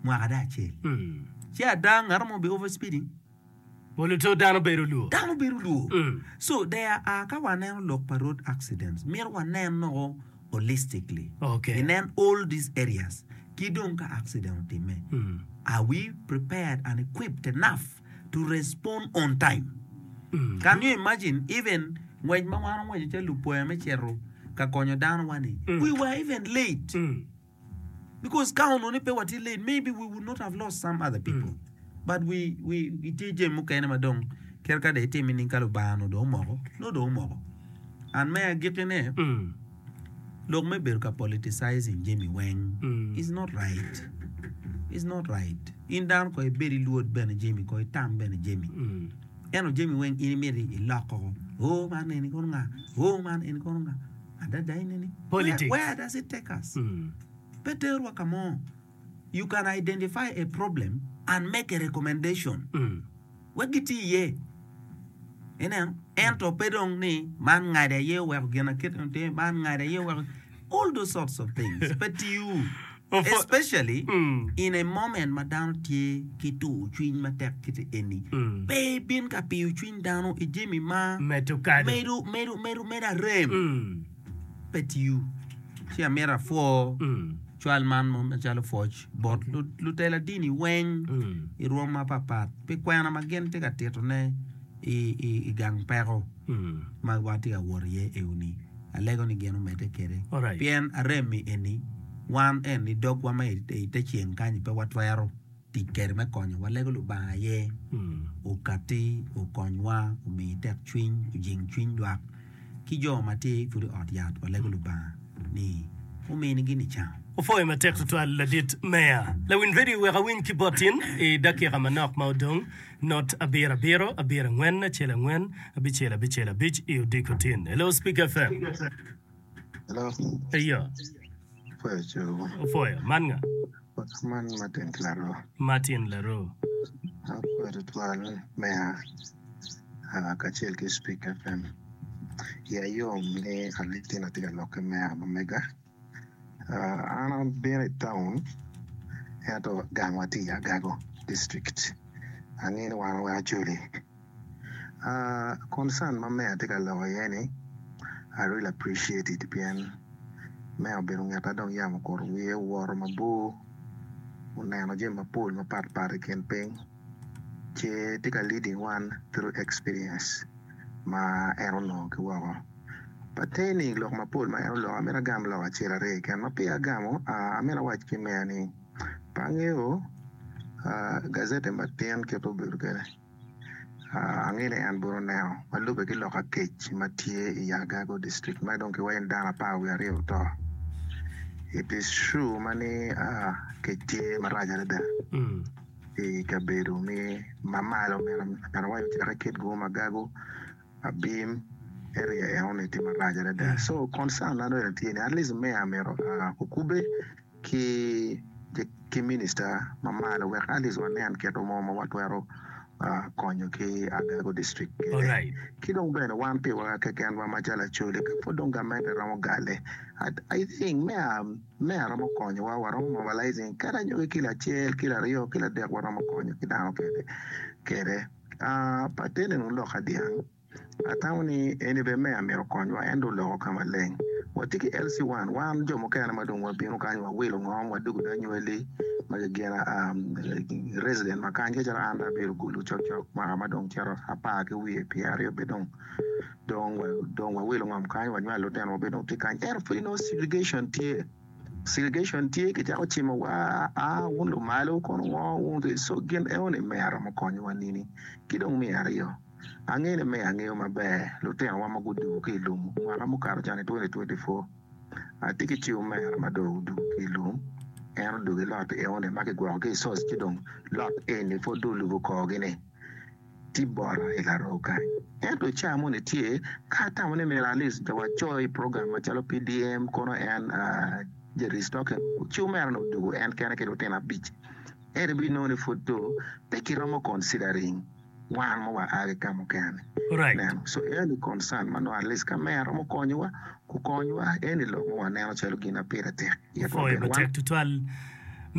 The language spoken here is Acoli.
Mwaka dong acel. Ci ada ngat mo bi over speeding? Pol oto dano bedo lwor. Dano bedo lwor. So there are ka waneno lok pa road accidents mito wanen noko holistically. Okay. Inen all these areas ki dong ka accident otimme are we prepared and equipped enough to respond on time? Can you imagine even ngwec ma wan wangweco calo lupwoya me cito ka konyo dano wa ni we were even late. Because ka onongo ni pe watye late maybe we would not have lost some other people but we we tye jami mukene ma dong kit ka dong itimo nining ka Lubanga onongo dong omoko nongo dong omoko and me agikkine lok me bedo ka politicizing jami weng is not right is not right in dano kong ibed ilwod bene jami kong itam bene jami ento jami weng in imito ilok koko oo man eni kono nga oo man eni kono nga. Adada ineni, Politics. where does it take us? Pe terwa ka mo. You can identify a problem and make a recommendation wek giti iye. Ineno? Ento pe dong ni man ngadi aye oweko gin akit eni otimme, man ngadi aye oweko all those sorts of things pe tiyo. Especially in a moment ma dano tye ki tur cwiny matek kiti eni, pe ibin ka piyo cwiny dano i jami ma Medo kado. medo medo medo medo arem pe tiyo. Ci amito apwo cwal man mo macalo pwoc bot lutela dini weng i rwom mapapat pi kwena ma gin tye ka titone i gang peko ma watye ka wot iye eoni. Alego ni gin omedde kwede pien arem-mi eni wan en i dogwa ma i te ceng kany pe watwero tic kwede me konyo. Walego Lubanga aye okatti okonywa, omi tekcwiny, ojing cwiny lwak ki jo ma tye pud i ot yat. Walego Lubanga ni ominigi nicango. Opwoyo matek tutwal ladit Meya. Lawiny radio wek awiny ki bot in i dakika manok ma odong. Not abiro abiro, abiro angwen, acel angwen, abicel abicel abic i odiko tin. Hello Speak FM. Hello. Eyo. Opwoyo cogo. Opwoyo. Man nga? Man Martin Laro. Martin Laro. Apwoyo tutwal meya kacel ki Speak FM. Iya yom ni Alitino tye ka lok ki meya ma mega. An abino i taun ento gangwa tye i Agago district angeyo ni wan weng Acholi. Concern ma meya tye ka lok iye ni I really appreciate it pien meya obedo ngeta dong yam okuto wiye owoto mabor oneno jami mapol mapat pat i kin piny ce tye ka leading wan through experience ma en onongo ki woko. Pertaining i lok mapol ma en oloko, amito agam lok acel aryo keken. Ma peya agamo, amito awac ki meya ni pe angeyo gazette matin kit ma obedo kwede. Angeyo ni en bene oneno ma lubbe ki lok akec ma tye i Agago district ma dong kiwaco ni dano apar wiye aryo oto. It is true ma ni kec tye marac adada i kabedo ma malo meno awaco cake Kitgum, Agago. Abim area eno ni tye marac adada so concern na dong tye ni at least mayor myero okube ki ki minister ma malo wek at least wanen kit mo ma watwero konyo ki Agago district kwede ki dong bene wan piwa kekenwa macalo Acholi ka pud dong gamente romo gale I think mayor mayor romo konyowa waromo mobilizing kadi anyogi kilo acel kilo aryo kilo adek waromo konyo ki dano kwede. Patene nongo lok adyang. Atamo ni eni bene me amito konywa en dong oloko ka maleng. Watye ki LC one, wan jo mukene ma dong wabino kany wawilo ngom wadwogo dong anywali ma gigina resident ma kany kacalo an dong abedo Gulu cokcok mwaka ma dong cito apar ki wiye pyeraryo bene dong dong wawilo ngom kany wanywalo lutino wa bene dong tye kany ento pud inongo segregation tye. Segregation tye kicako cimo wa aa wun lumalo kono ngo wun so gin eno ni me aromo konyo wa nini ki dong me aryo ange ni me angeyo maber lutino wa ma gudugo ki ilum mwaka mukato can i 2024 atye ki ci omera ma dong odugo ki ilum en odugo i lot eno ni ma kigwoko ki i source ci dong lot eni pwod dong olubo korgi ni tye bota i laroo kany. Ento i caa moni tye ka atamo ni myero at least waco i program macalo PDM kono en ja restocking ci omera ni odwogo en kene ki lutino abic ento ibinongo ni pud do pe kiromo considering wan ma wa a ki ka mukene neno so eni concern ma nongo at least ka meya romo konyowa kukonywa eni lok ma waneno calo gin ma pire tek Apwoyo matek tutwal.